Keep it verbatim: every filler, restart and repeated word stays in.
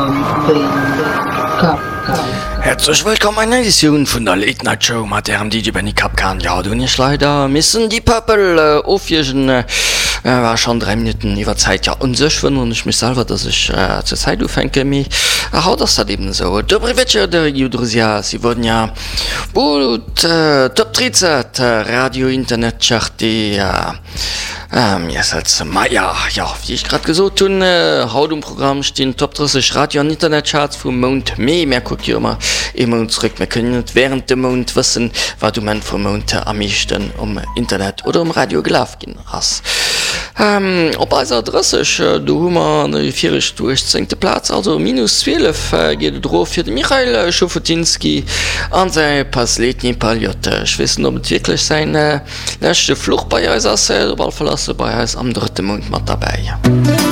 Mam Benny Kapkan. Häerzlech wëllkomm eng nei Editioun vun der Late Night Show mat ärem D J Benny Kapkan. Jo, do hunn ech leider missen Deep Purple ofwiergen. War schonn dräi Minutten iwwer Zäit. Jo, un sech wënneren ech mech selwer, dass ech zur Zäit ufänken, mee haut ass dat eben esou. Добрый вечер, дорогие друзья! Сегодня будут Топ тридцать Radio Internet Charte месяц мая. Jo, wéi ech grad gesot hunn, haut um Programm stinn Top drësseg Radio an Internetcharts vum Mount Mee. Mär kucke jo ëmmer ee Mount zréck. Mir kënnen net wärend dem Mount wëssen, wat um Enn vum Mount am meeschten um Internet oder um Radio gelaf ginn ass. Op eiser drësseg, do hu mer déi viregt uechtzéngte Plaz, also minus zwielef geet et erof fir de Michail Schofotinski an säi Последний полёт. Ech weess net, ob et wierklech säin leschte Fluch bei eis ass, op alle Fall ass e bei eis am drëtte Mount mat derbäi.